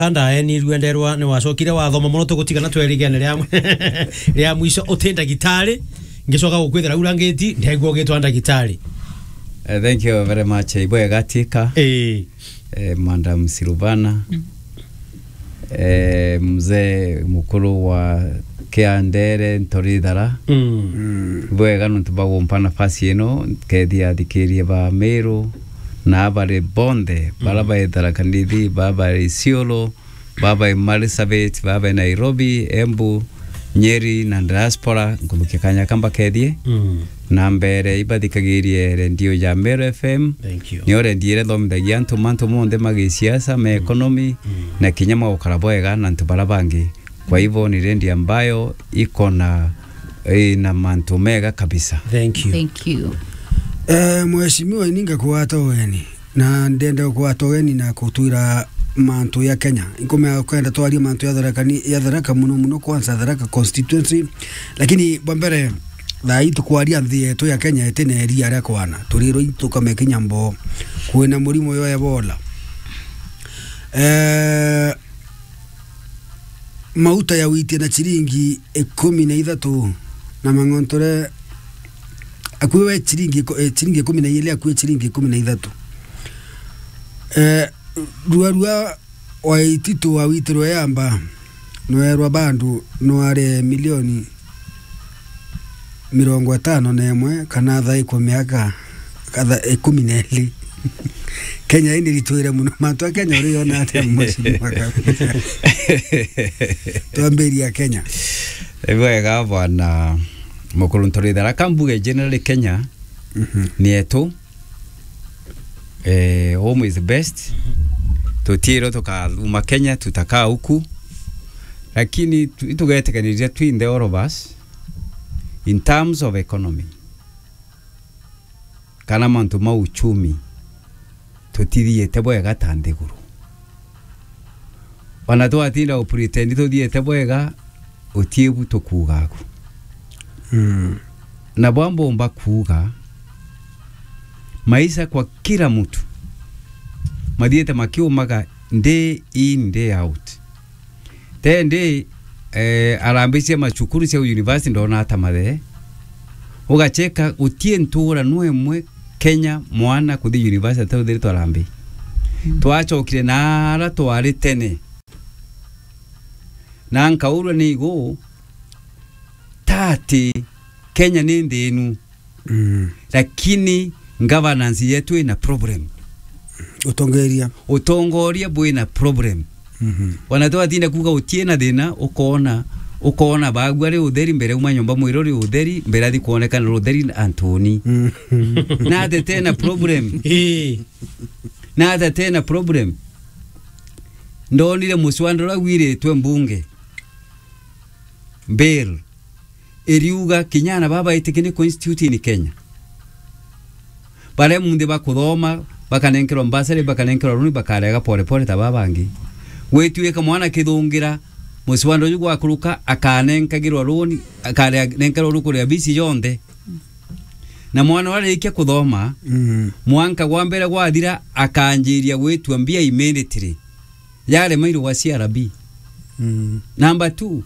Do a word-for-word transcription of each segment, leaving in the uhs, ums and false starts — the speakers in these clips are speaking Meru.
Kanda eni rwenderwa ni wacokire wathoma mono, tugutigana twerigene ria, ria mwico. Uti ndagitari, ngicoka gukwithira ura ngiti, ndegua ugitwa ndagitari. Eh, thank you very much. Ibwega Tika. Eh. Eh, Madam Silvana. Eh, mzee mukuru wa Kiandere Ntorithara. Mm. Ibwega nontu bagumpa nafasi ino, kethia athikirie ba Meru, na abari bonthe, bara, mm, baithara Kanithi, bara bari Isiolo, baba e Marsabit, baba e Nairobi, Embu, Nyeri na diaspora, nkuthukia kanya ka mbakethie. Mm. Na mbere ibathikagirie redio ya Meru F M. Thank you. Nio redio iria ithomithagia antu mantu monthe ma gisiasa, ma, mm, economy, mm, na kinya magukara bwega na antu bara bangi. Kwa hivyo ni redio ambayo iko na, ina mantu mega kabisa. Thank you. Thank you. Eh, mheshimiwa, ininga kuwata ugeni. Na ndenda gukwata ugeni na kutwira mantu ya Kenya. Nkumea kwenda twarie mantu ya Tharaka ni, ya Tharaka muno muno, kwanza Tharaka constituency. Lakini bwa mbere, thaa ii tukwaria nthi yetu ya Kenya itina iria ria kwana. Turirwe itu kame kinya mbo. Kwina murimo yo Ebola. Eh, mauta ya witie na ciringi ikumi na ithatu, na mang'ontore akui we ciringi iko-, eh, ciringi ikumi na ijiri, akui ciringi ikumi na ithatu. Eh, rua rua wa ititu wa witirwe yamba, noerwa bandu noare milioni mirongo itano na imwe kana thaikwa miaka katha-, ikumi na iri. Kenya ii ni ritwire muno. Mantu a Kenya uri yona atia, mheshimiwa kabisa? Twambiria Kenya. Ni bwega bwana mukuru Ntorithara. Ka mbuge generally Kenya, mhm, ni yetu. Eh, home is best. Tutiirwe tukauma Kenya, tutakaa huku. Lakini tu-, itugetikaniria twinthe all of us in terms of economy. Kana mantu ma uchumi, tutithiite bwega ta nthiguru. Ona twatinda u pretend tuthiite bwega, uti bu tukuuga aku. Mm. Na bwa mbomba kuuga, maisha kwa kila mtu mathiite makiumaga day in, day out. Tendi, eh, arambia cia macukuru cia university ndona ata mathe. Ugacheka, gutie ntura no imwe Kenya mwana kuthi university atauthiritwe arambi. Mm. Twachokire na ara twari tene. Na nkaurwa ni igu, tati Kenya ni nthinu. Mm. Lakini governance yetu ina problem. Utongeria. Utongoria bwina problem. Mhm. Ona twatinda kuuga utie na thina, ukoona, ukoona baagua ri utheri mbere uma nyomba mwiro ri utheri, mbere athi kuonekana ri utheri antuni. Mm. Na ate tena problem. Eh. Na ate tena problem. Ndonire muswanda uria wiritwe mbunge. Bill. Iriuga kinya ana baba baitikia ni constitute in Kenya. Baria munthi bakuthoma, bakanenkerwa bursary, bakanenkerwa loan, bakarega pole pole ta baba bangi. Gwituika mwana kithungira, muswanda uju gwakuruka, akanenkagirwa loan, akarenkerwa loan kuria bisi yonthe. Na mwana uria arikia kuthoma, mm, mwanka gwa mbere gwathira, akanjiria gwitua mbia immediately. Yarema irugwa C R B. Mm. Number two,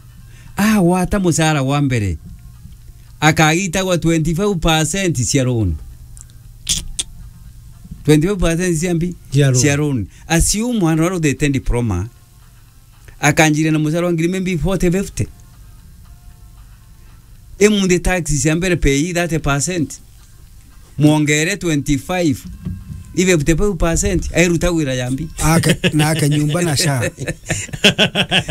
agwata mucara wa mbere, akagitagwa twenty-five percent cia loan. Twenty-five percent cia mbi? Cia loan. Cia loan. Assume mwana uria uthite diploma, akanjiria na mucara wa ngiri maybe forty, fifty. Imunthi taxi cia mbere pay thirty percent. Mwongere twenty-five, i fifty-five percent, airuta wira ya mbi. Ake, na ake nyumba na SHA.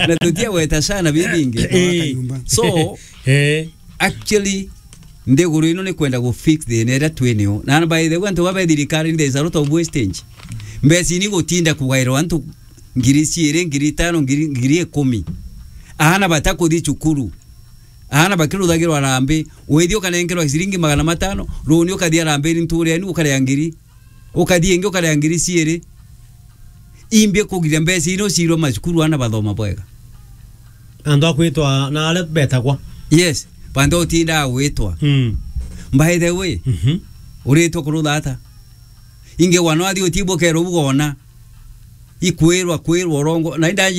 Na tutia gweta SHA na bibi ingi. Eh. Ake nyumba. So, eh, actually, nthiguru ino ni kwenda gu fix thina iria twinio. Na by the way, antu baba thirikari, there is a lot of wastage. Mbeca ni gutinda kugairwa antu ngiri ciiri, ngiri itano, ngiri, ngiri ikumi. Aana batakuthi cukuru. Aana bakiruthagirwa arambi, withia ukanenkerwa ciringi magana matano, runi ukathia arambi ni ntureni ukaria ngiri, ukathia ingi ukaria ngiri ciiri. Imbi kugiria mbeca ino ciirwe macukuru aana bathoma bwega. Antu akwitwa na aria betagwa. Yes, bantu utinda gwitwa. Mm. By the way, mhm, uritwa kurutha ata? Ingi wana athi utibukerwa ugona. Ikwirwa, kwirwa urongo, na indaji